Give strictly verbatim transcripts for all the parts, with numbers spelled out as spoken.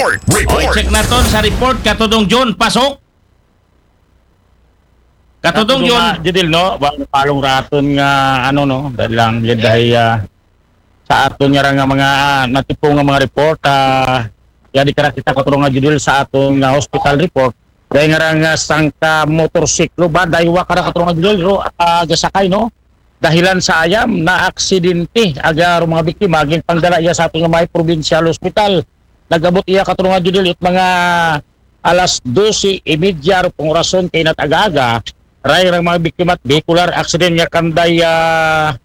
Oy, check naton sa report, Katudong Jun, pasok. Katudong Jun. Judil, no? Wa palong raton nga, ano, no? Dahil lang, yun dahil, ah, sa aton nga ra nga mga, ah, natipong nga mga report, ah, yadi kara kita, Katudong nga Judil, sa aton nga hospital report. Dahil nga ra nga sangka motorsiklo ba, daywa kara, Katudong nga Judil, ro, ah, gasakay, no? Dahilan sa ayam na aksidente, aga ro mga biktima, ginpangdala iya sa aton nga may provincial hospital. Nag-abot iya, Katudong nga Judil, it mga alas dose y media ro pong orason kay nat aga-aga, ray ra mga biktima at vehicular accident nga kanday, ah,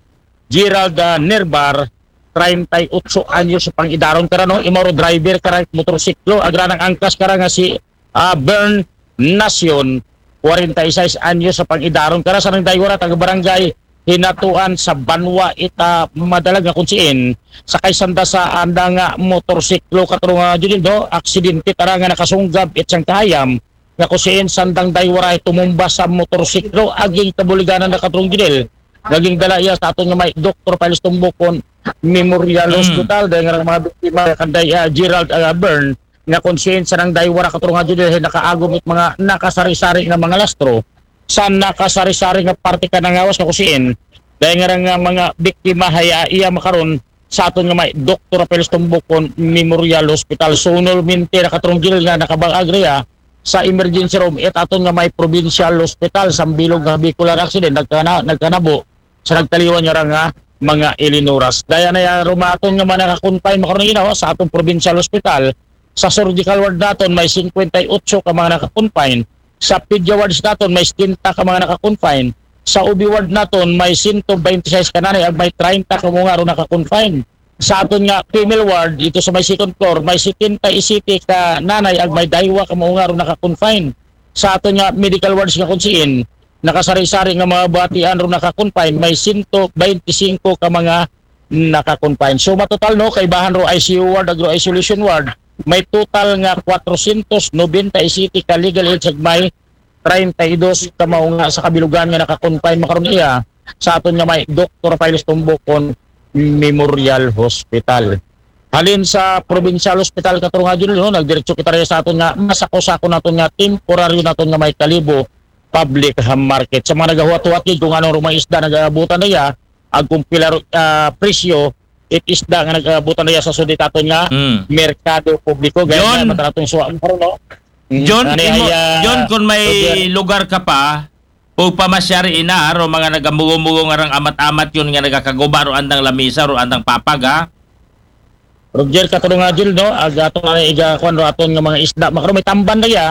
Gerald, ah, Nerbar, treinta y ocho anyos sa pangidaron kara, no? Imaw ro driver kara motorsiklo, agra nang angkas kara nga si, ah, Bern Nacion, kwarenta y sais anyos sa pangidaron kara, sa nang daywara taga barangay Hinatuan sa Banwa ita madalag nga kunsiin, sakay sanda sa anda nga motorsiklo, Katudong nga Judil, no? Aksidente tara nga nakasunggab it siyang kahayam nga kunsiin sandang daywara tumumba sa motorsiklo, aging kabuliganan na, Katudong Judil. Naging dala iya sa aton nga may Doktor Pilis Tumbukon Memorial Hospital, dahil nga mga biktima kanday, ah, Gerald, ah, Bern, nga kunsiin sa nang daywara, Katudong nga Judil, nakaagom it mga nakasari-sari nga mga lastro sa nakasari-sari nga parte ka nangawas nga kunsiin. Dahil nga ra nga mga biktima haya iya makaron sa aton nga may Doktor Pilis Tumbukon Memorial Hospital. Sunol minti na, Katudong Judil, nga nakabag-ag riya sa emergency room it aton nga may provincial hospital sa bilog nga vehicular accident nagkana, nagkanabo sa nagtaliwan nga ra nga mga ilinoras. Daya na ya rumaton nga mga nakakonfine makaron, you know, sa atong provincial hospital. Sa surgical ward naton may singkwenta y otso ka mga nakakonfine. Sa pedia wards naton may setenta ka mga nakakonfine. Sa O B ward naton may sento baynte sais ka nanay ag may treinta ka mga ro nakakonfine. Sa aton nga female ward dito sa may second floor may setenta y sete ka nanay ag may daywa ka mga ro nakakonfine. Sa aton nga medical wards nga kunsiin, nakasari-sari nga mga batian ro nakakonfine, may sento baynte singko ka mga nakakonfine. So matotal, no, kaibahan ro I C U ward, agro isolation ward, may total nga kwatrosyentos nobenta y siyete ka legal age ag may treinta y dos ka mga sa kabilugan nga nakakonfine makaron iya sa aton nga may Doktor Pilis Tumbukon Memorial Hospital. Halin sa provincial hospital, Katudong nga Judil, no, nagdiretso kita riya sa aton nga masako-sako naton nga temporaryo naton nga may Kalibo public, ah, market. Sa mga nagahuwat-huwat gid kung anong rumang isda nagabutan na iya, ag kung pila ro, ah, presyo it isda nga nagabutan na iya sa suditaton nga merkado publiko. Gaya nga matanaton suwa mo, no? Mm, John, ano imo, ay, ah, John, kung may lugar ka pa, o pamasyari ina, ro mga nagamugo-mugo nga rang amat-amat yun nga nagakaguba ro andang lamisa, ro andang papag, ha? Roger, Katudong nga Judil, no? Ag ato nga igakuan ro aton nga mga isda. Makaron may tamban na iya,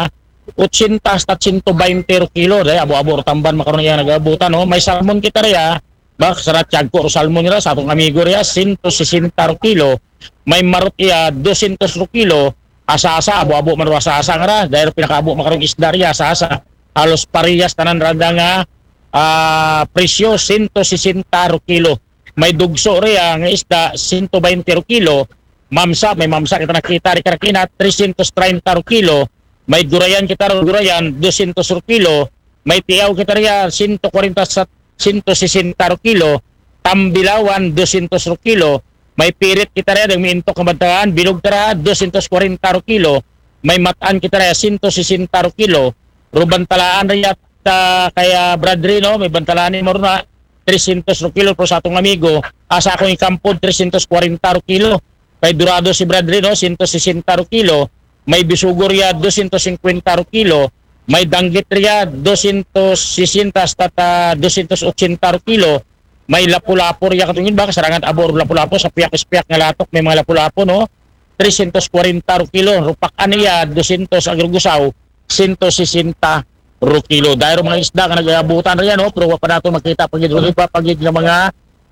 otsenta hasta sento baynte ro kilo. Dahil abo-abo ro tamban makaron iya nagabutan, no? May salmon kita riya, ba, sa ratyag ko ro salmon nila, sa atong amigo riya, sento sesenta ro kilo. May marot iya, dosyentos ro kilo. Asa-asa, abo-abo man ro asa-asa nga ra. Dahil pinakaabo makaron isda riya, asa-asa. Halos parehas tanan randa nga, ah, presyo, sento sesenta ro kilo. May dugso riya nga isda, sento baynte ro kilo. Mamsa, may mamsa kita nakita ri karakina, tresyentos treinta ro kilo. May gurayan kita ro gurayan, dosyentos ro kilo. May tiaw kita riya, sento kwarenta sa sento sesenta ro kilo. Tambilawan, dosyentos ro kilo. May pirit kita riya, dang miintok nga bantalaan, bilog tara, dosyentos kwarenta ro kilo. May matan kita riya, sento sesenta ro kilo. Rubantalaan riya, ta, kaya Brad Rino, may bantalaan ni Morna, tresyentos ro kilo, pero sa atong amigo, asa akong ikampod, tresyentos kwarenta ro kilo. Kay Dorado si Brad Rino, sento sesenta ro kilo. May bisugo riya, dosyentos singkwenta ro kilo. May danggit riya, dosyentos sesenta hasta ta, dosyentos otsenta ro kilo. May lapu-lapu riya katungin ba, kasarangan abo ro lapu-lapu, sa piyak-piyak nga latok, may mga lapu-lapu, no? Tresyentos kwarenta ro kilo. Rupak aniya, dosyentos, agrugusaw, sento sesenta ro kilo. Dahil mga isda nga nagabutan riya, no? Pero wa pa nato makita pagid ro iba pagid nga mga,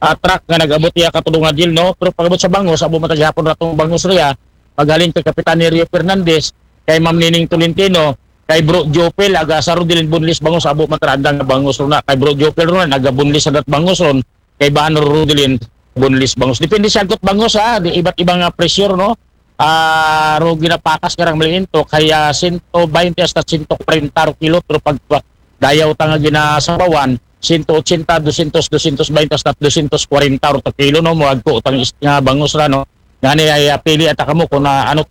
ah, truck nga nagabot iya katulong nga deal, no? Pero pagabot sa bangos, abo matagihapon ratong bangos riya. Paghalin kay Kapitan Nerio Fernandez, kay Ma'am Nining Tolentino, kay Bro Jopel, aga sa Rodilin Bunlis bangos, abo matranda nga bangos ron na. Kay Bro Jopel ron na, naga Bunlis sa dat bangos ron. Kay Bano Rodilin Bunlis bangos. Depende siya got bangos, ha. Di iba't ibang, ah, presyo, no? Ah, ro ginapakas karang maliinto, kaya sento baynte hasta sento kwarenta ro kilo, pero pag dayaw ta nga ginasabawan, sento otsenta, dosyentos, dosyentos baynte hasta dosyentos kwarenta ro ta kilo, no? Muagko tang is-, nga bangos ra, no? Ngani ay, ah, pili ata kamo kung, ah, ano